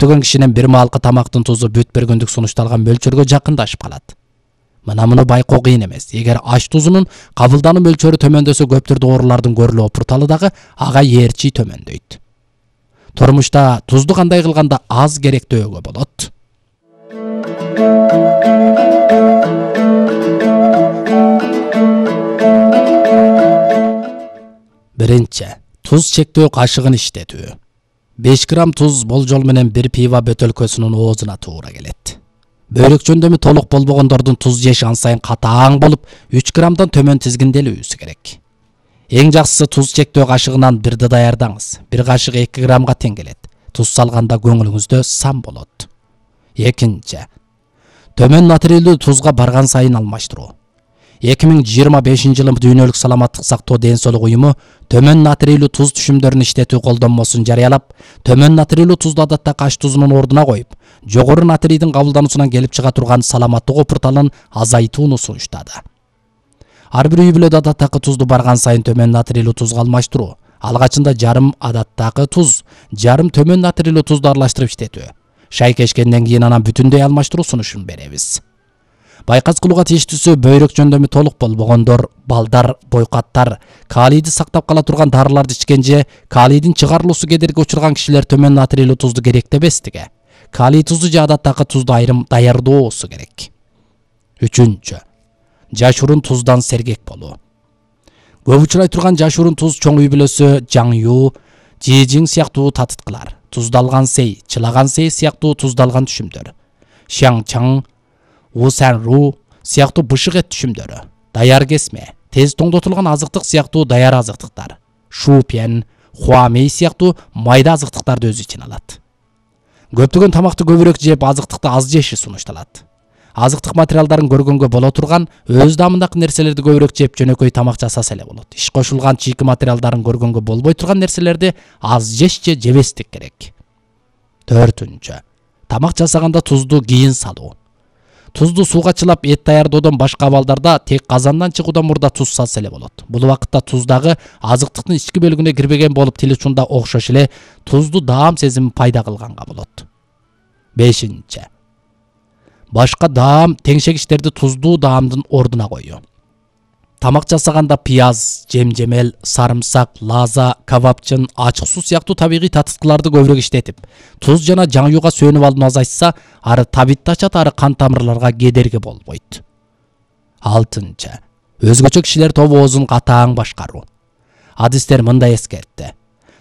көптөгөн кишинин бир маалкы тамактын тузу бүт бир күндүк сунушталган мөлчөргө жакындашып калат. Мына муну байкоо кыйын эмес. Эгер аш тузунун кабылдануу мөлчөрү төмөндөсө, көптөр оорулардын көрүлүү порталы дагы ага ээрчи төмөндөйт. Турмушта тузду кандай кылганда аз керектөөгө болот? Биринчи, туз чектөө кашыгын иштетүү. 5 грамм туз болжол менен бир пива бөтөлкөсүнүн оозуна туура келет. Бөйрөк жөндөмү толук болбогондордун туз жеш ан сайын катаң болуп, 3 граммдан төмөн тизгинделүүсү керек. Эң жакшысы туз чектөө кашыгынан бирди даярдаңыз. Бир кашык 2 граммга тең келет. Туз салганда көңүлүңүздө сам болот. Экинчи, төмөн натрийлүү тузга барган сайын алмаштыруу. 2025 жылы Дүйнөлүк саламаттык сактоо ден соолук уюму төмөн натрийлүү туз түшүмдөрүн иштетүү колдонмосун жарыялап, төмөн натрийлүү тузду адаттагы аш тузунун ордуна коюп, жогору натрийдин кабылдануусунан келип чыга турган саламаттык опурталын азайтууну сунуштады. Ар бир үй бүлөдө адаттагы тузду барган сайын төмөн натрийлүү тузга алмаштыруу. Алгачында жарым адаттагы туз, жарым төмөн натрийлүү тузду аралаштырып иштетүү. Шайкешкенден кийин анан бүтүндөй алмаштыруу сунушун беребиз. Байкас кылууга тийиштүүсү бөйрөк жөндөмү толук болбогондор, балдар, бойкаттар, калийди сактап кала турган дарыларды ичкен же калийдин чыгарылуусу кедерги учурган кишилер төмөн натрийлүү тузду керектебестиги. Калий тузу же адаттагы тузду айрым даярдоосу керек. Үчүнчү, жашуурун туздан сергек болуу. Көп учурай турган жашуурун туз чоң үй бүлөсү жаңю, жижиң сыяктуу татыткылар, туздалган сей, чылаган сей сыяктуу туздалган түшүмдөр, шаңчаң, усанру сыяктуу бышык эт түшүмдөрү, даяр кесме, тез тоңдотулган азыктык сыяктуу даяр азыктыктар, шупен, хуамей сыяктуу майда азыктыктарды өз ичине алат. Көптөгөн тамакты көбүрөөк жеп, азыктыкты аз жеши сунушталат. Азыктык материалдарын көргөнгө боло турган, өз даамындагы нерселерди көбүрөөк жеп жөнөкөй тамак жасаса эле болот. Иш кошулган чийки материалдарын көргөнгө болбой турган нерселерди аз жеш же жебестик керек. Төртүнчү, тамак жасаганда тузду кийин салуу. Тузду сууга чылап эт даярдоодон башка абалдарда тек казандан чыгуудан мурда туз салса эле болот. Бул убакытта туздагы азыктыктын ички бөлүгүнө кирбеген болуп, тил учунда окшош эле тузду даам сезими пайда кылганга болот. Бешинчи, башка даам теңшегичтерди туздуу даамдын ордуна коюу. Тамак жасаганда пияз, жемжемел, сарымсак, лаза, кабапчын, ачык суу сыяктуу табигый татыткыларды көбүрөөк иштетип, туз жана жаңюга сөнүп алууну азайтса, ары табитти ачат, ары кан тамырларга кедерги болбойт. Алтынчы, өзгөчө кишилер тобу оозун катаң башкаруу. Адистер мындай эскертти.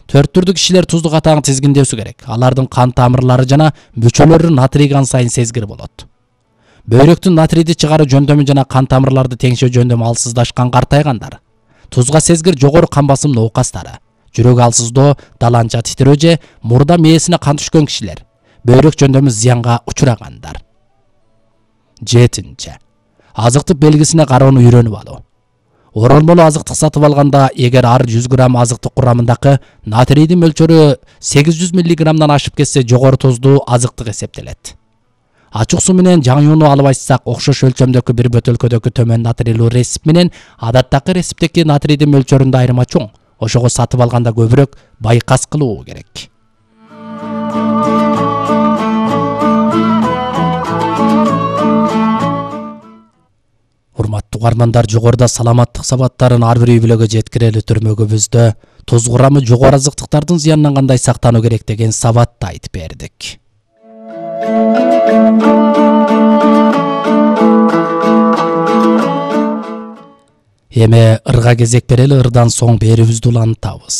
4 түрдүү кишилер тузду катаң тизгиндөөсү керек. Алардын кан тамырлары жана мүчөлөрү натрий кан сайын сезгир болот. Бөйрөктүн натрийди чыгаруу жөндөмү жана кан тамырларды теңшөө жөндөмү алсыздашкан картайгандар, тузга сезгир жогору кан басым ноокастары, жүрөк алсыздоо, даланча титирөө же мурда мээсине кан түшкөн кишилер, бөйрөк жөндөмү зыянга учурагандар. Жетинчи, азыктык белгисине кароону үйрөнүп алуу. Оролмолу азыктык сатып алганда, эгер ар 100 грамм азыктык курамындагы натрийдин мөлчөрү 800 миллиграммдан ашып кетсе, жогору туздуу азыктык эсептелет. Ачык суу менен жаңюуну алып айтсак, окшош өлчөмдөгү бир бөтөлкөдөгү төмөн натрийлүү ресип менен адаттагы ресиптеги натрийдин мөлчөрүндө айырма чоң. Ошого сатып алганда көбүрөөк байкас кылуу керек. Урматтуу угармандар, жогоруда саламаттык сабаттарын ар бир үй бүлөгө жеткирели түрмөгүбүздө туз курамы жогору азыктыктардын зыянынан кандай сактануу керек деген сабатты айтып бердик. Эми ырга кезек берели, ырдан соң берүүбүздү улантабыз.